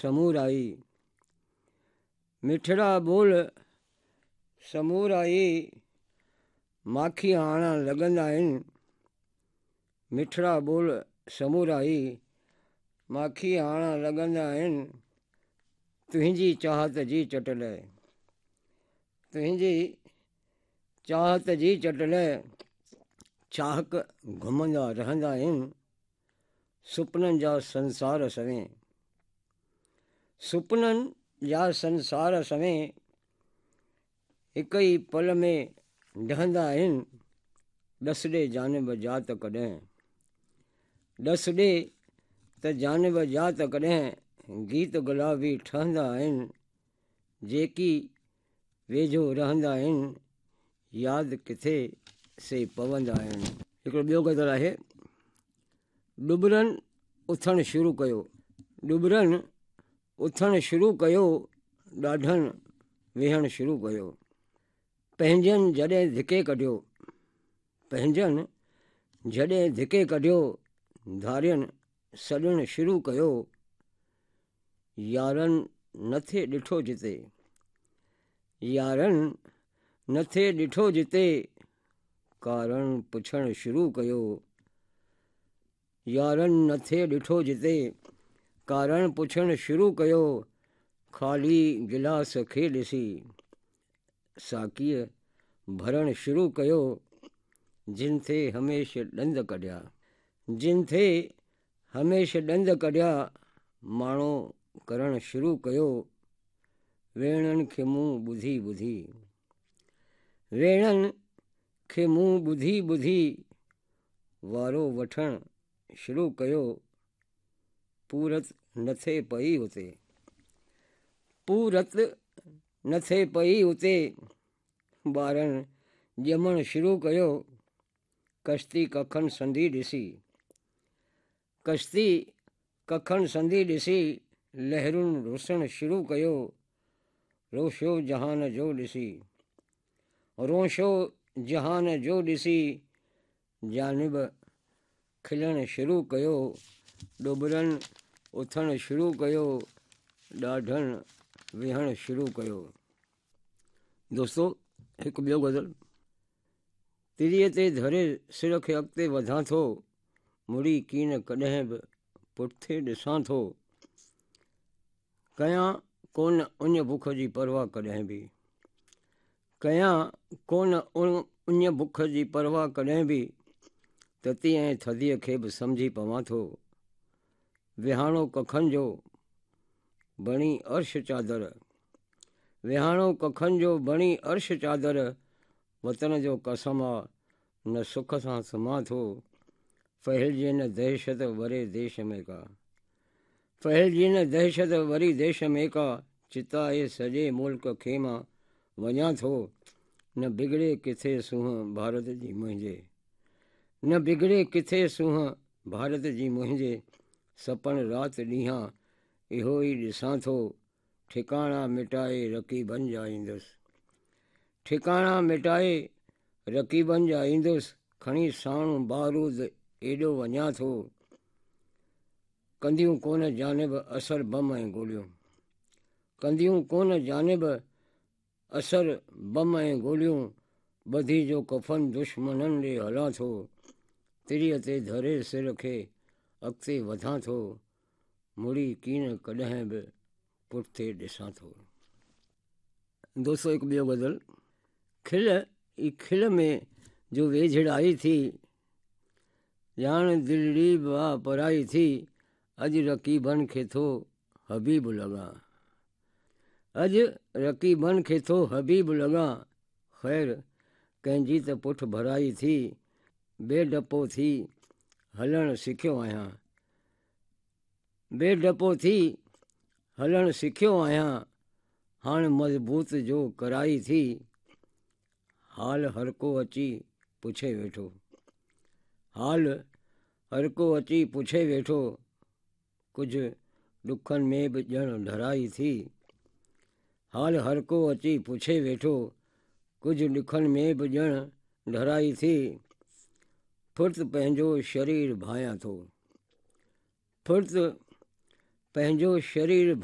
Samurai, مٺڙا ٻول samurai, ماکي هاڻا لڳندا آهن. مٺڙا ٻول سمورائي، ماکي هاڻا لڳندا آهن. تنهنجي چاهت جي چٽ لئه، تنهنجي چاهت جي چٽ لئه، چاهڪ گهمندا رهندا آهن. سپنن جا سنسار سوين، سپنن جا سنسار سوين، هڪ ئي پل ۾ ڊهندا آهن. ڏس ڏي جانب جا ته ڪڏهن، ڏس ڏي ته جانب جا ته ڪڏهن، گيت گلابي ٺهندا آهن. جيڪي ويجهو رهندا آهن، ياد ڪٿي سي پوندا آهن. هڪڙو ٻيو غزل آهي. ڏٻرن اٿڻ شروع ڪيو، ڏٻرن اٿڻ شروع ڪيو، ڏاڍن ويهڻ شروع ڪيو. پنهنجن جڏهن ڌڪي ڪڍيو، پنهنجن جڏهن ڌڪي ڪڍيو، ڌارين سڏڻ شروع ڪيو. يارن نه ٿي ڏٺو جتي، يارن نه ٿي ڏٺو جتي، ڪارڻ پڇڻ شروع ڪيو. يارن نه ٿي ڏٺو جتي، ڪارڻ پڇڻ شروع ڪيو. خالي گلاس کي ڏسي، ساقيء ڀرڻ شروع ڪيو. جن ٿي هميشه ڏند ڪڍيا، جن ٿي هميشه ڏند ڪڍيا، ماڻو ڪرڻ شروع ڪيو. ويڻن کي مون ٻڌي ٻڌي، ويڻن کي مون ٻڌي ٻڌي، وارو وٺڻ شروع ڪيو. پورت نه ٿئي پئي اتي، پورت نه ٿئي پئي اتي، ٻارن ڄمڻ شروع ڪيو. ڪشتي ڪکن سندي ڏسي، ڪشتي ڪکن سندي ڏسي، لهرن رسڻ شروع ڪيو. روشو جهان جو ڏسي، روشو جهان جو ڏسي، جانب کلڻ شروع ڪيو. ڏوٻرن اٿڻ شروع ڪيو، ڏاڍن ويهڻ شروع ڪيو. دوستو هڪ ٻيو غزل. تريء تي ڌري سر کي اڳتي وڌان ٿو، مڙي ڪين ڪڏهن به پٺتي ڏسان ٿو. ڪيان ڪونه اڃ بک جي پرواهه ڪڏهن به، ڪيان ڪونه اڃ بک جي پرواهه ڪڏهن به، تتي ۽ ٿڌيء کي به سمجهي پوان ٿو. ويهاڻو ڪکن جو بڻي عرش چادر، ويهاڻو ڪکن جو بڻي عرش چادر، وطن جو قسم آ نه سک سان سمهان ٿو. ڦهلجي نه دهشت وري ديش ۾ ڪا، ڦهلجي نه دهشت وري ديش ۾ ڪا، چتائي سڄي ملڪ کي مان وڃان ٿو. نه بگڙي ڪٿي سونهن ڀارت جي منهنجي، نه بگڙي ڪٿي سونهن ڀارت جي منهنجي، سپڻ رات ڏينهان اهو ئي ڏسان ٿو. ٺڪاڻا مٽائي رقيبن جا ايندس، ٺڪاڻا مٽائي رقيبن جا ايندس، کڻي ساڻ بارود ايڏو وڃان ٿو. ڪنديون ڪونه جانب اثر بم ۽ گوليون، ڪنديون ڪونه جانب اثر بم ۽ گوليون، ٻڌي جو ڪفن دشمنن ڏي هلان ٿو. تريء تي ڌري سر کي اڳتي وڌان ٿو، مڙي ڪين ڪڏهن به پٺتي ڏسان ٿو. دوستو هڪ ٻيو غزل. کل ئي کل ۾ جو ويجهڙائي ٿي، ڄاڻ دلڙي به آ پرائي ٿي، اڄ رقيبن کي ٿو حبيب لڳان، اڄ رقيبن کي ٿو حبيب لڳان، خير ڪنهن جي ته پٺ ڀرائي ٿي، بي ڊپو ٿي هلڻ سکيو آهيان، بي ڊپو ٿي هلڻ سکيو آهيان، هاڻ مضبوط جو ڪرائي ٿي، حال هرڪو اچي پڇي ويٺو، حال هرڪو اچي پڇي ويٺو، ڪجهه ڏکن ۾ به ڄڻ ڍرائي ٿي. حال هرڪو اچي پڇي ويٺو، ڪجهه ڏکن ۾ به ڄڻ ڍرائي ٿي. ڦرت پنهنجو شرير ڀانيان ٿو، ڦرت پنهنجو شرير.